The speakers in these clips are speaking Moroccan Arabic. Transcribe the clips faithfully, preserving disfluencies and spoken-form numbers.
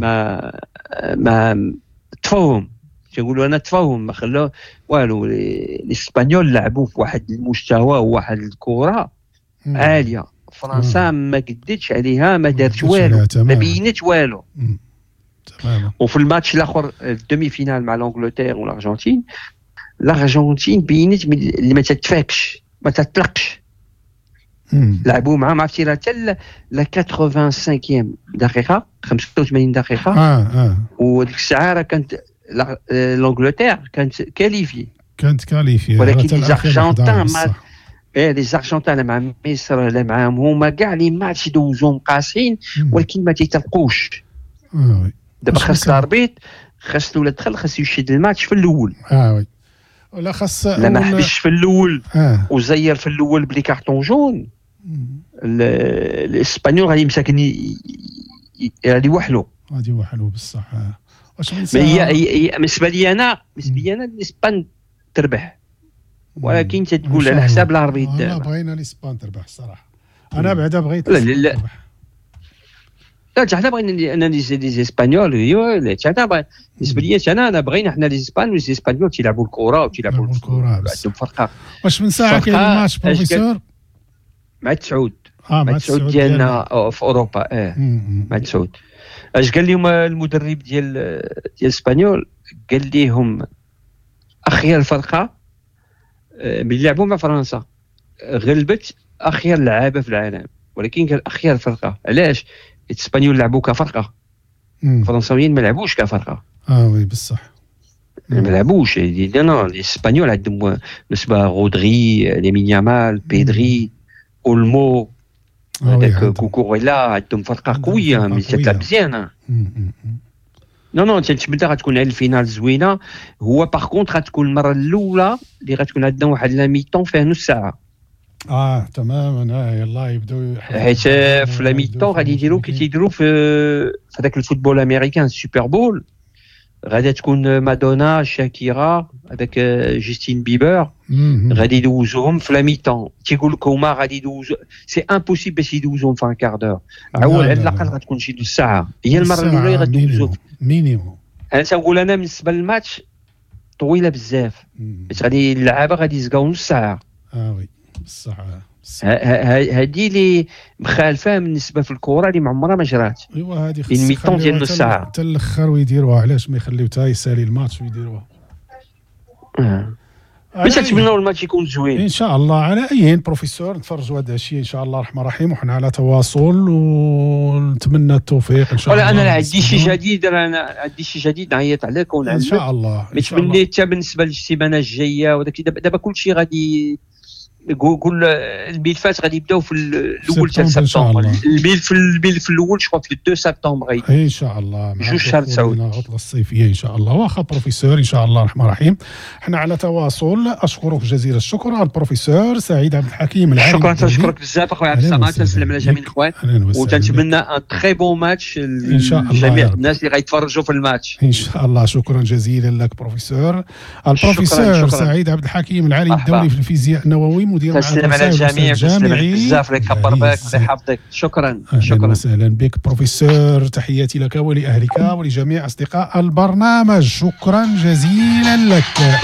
ما ما تفاهم، تنقولوا انا تفاهم، ما خلاو والو. les Espagnols لعبوا في واحد المستوى وواحد الكره عالية، فرنسا ما قدتش عليها، ما دارت والو، ما بينت والو. تماما. وفي الماتش الاخر ال demi-finale مع l'Angleterre والارجنتين، الارجنتين بينت اللي ما تتفاكش ما تطلقش. لعبوا معاهم عرفتي راه حتى la خمسة وثمانين دقيقة، خمسة وثمانين دقيقة. اه اه وديك الساعة راه كانت l'Angleterre كانت qualifiée، كانت qualifiée، ولكن les Argentins ما ايه les Argentins مع مصر لا معاهم هما كاع les matchs يدوزوهم قاسيين، ولكن ما تيطلقوش. اه oui. دابا خاص l'arbitre، خاص ولا دخل خاص يشد الماتش في الاول. اه oui. ولا خاص لا ما حبسش في الاول آه. وزير في الاول ب les cartons jaunes، الاسبانيول غادي مساكن غادي يوحلوا، غادي يوحلوا بصح. واش هي هي بالنسبة لي انا، بالنسبة لي انا الاسبان تربح، ولكن تتقول على حساب l'arbitre. لا بغينا الاسبان تربح الصراحة، انا بعدا بغيت. لا لا لا حنا بغينا انا les Espagnols، لا حنا بالنسبة لي انا انا بغينا حنا les Espagnols، les Espagnols تيلعبوا الكره وتيلعبوا الكره، عندهم فرقه. واش من ساعة كاين الماتش بروفيسور؟ مع تسعود. اه مع تسعود ديالنا في اوروبا. اه مع تسعود. اش قال لهم المدرب ديال ديال اسبانيول؟ قال لهم اخير فرقه ملي لعبوا مع فرنسا غلبت اخير لعابه في العالم، ولكن قال اخير فرقه. علاش؟ الاسبانيول لعبوا كفرقه، الفرنساويين ما لعبوش كفرقه. اه oui بصح ما لعبوش. لا الاسبانيول عندهم بالنسبة رودري، لامين يامال، بيدري، اولمو، هذاك كوكوريلا، عندهم فرقه قوية ملي تلعب مزيانه. non non تنتمنى غتكون على ال finale زوينة. هو par contre غتكون المرة الاولى اللي غتكون عندنا واحد la mi-temps فيها نص ساعة. اه تماما. اه يلاه يبداو، حيت في la mi-temps غادي يديروا كي تيديروا في في هذاك ال football américain Super Bowl، غادي تكون مادونا، شاكيرا، هذاك جوستين بيبر، غادي يدوزوهم في la mi-temps. تيقول لك هما غادي يدوزو، c'est impossible باش يدوزوهم في un quart d'heure. عول على الاقل غتكون شي نص ساعة، هي المرة الاولى غادي minimum. انا تنقول انا بالنسبة للماتش طويلة بزاف، حيت غادي اللعابه غادي يزكاو نص ساعة. اه oui بصح. هذه اللي مخالفة بالنسبة في الكره اللي ما عمرها ما جرات. ايوا هذه خص mi-temps ديال نص ساعة حتى الاخر ويديروها. علاش ما يخليو حتى يسالي الماتش ويديروها؟ آه. باش نتمناو الماتش يكون زوين ان شاء الله. على اي بروفيسور نتفرجوا هذا الشيء ان شاء الله الرحمن الرحيم، وحنا على تواصل ونتمنى التوفيق ان شاء الله. ولا انا عندي شي جديد، انا عندي شي جديد نعيط عليك ونعلمك ان شاء الله. نتمنى حتى بالنسبة للسيمانه الجاية وداك دابا كلشي غادي قول الملفات غادي يبداو في الاول تاع سبتمبر. الملف الملف الاول جو في اثنين سبتمبر ان شاء الله، جوج شهر تسعود العطلة الصيفية ان شاء الله. واخا بروفيسور ان شاء الله الرحمن الرحيم، حنا على تواصل. اشكرك جزيل الشكر البروفيسور سعيد عبد الحكيم العالم. شكرا، تنشكرك بزاف اخويا عبد الصمد، تنسلم على جميع الاخوان وتنتمنى un très bon match ان شاء الله جميع الناس اللي غيتفرجوا في الماتش ان شاء الله. شكرا جزيلا لك بروفيسور. البروفيسور شكرا شكرا. سعيد عبد الحكيم العالم الدولي في الفيزياء النووي، مدير تسلم على الجميع، تسلم بزاف لك، كبر بك الله يحفظك. شكرا شكرا وسهلا بك بروفيسور، تحياتي لك ولاهلك ولجميع اصدقاء البرنامج، شكرا جزيلا لك.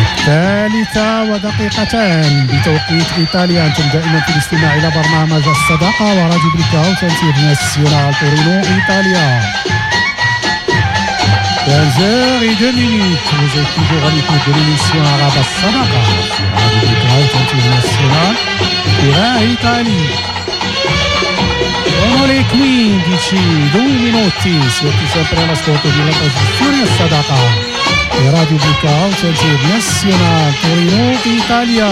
الثالثة ودقيقتان بتوقيت إيطاليا، أنتم دائما في الاستماع إلى برنامج الصداقة وراديو Blackout International تورينو إيطاليا. quinze heures et deux minutes, vous êtes toujours à l'écoute de l'émission Arabe Sadaqa sur Radio Blackout International Turin Italie. Sono le quindici, due minuti, siete sempre all'ascolto della trasmissione Sadaqa e Radio Blackout International Torino Italia.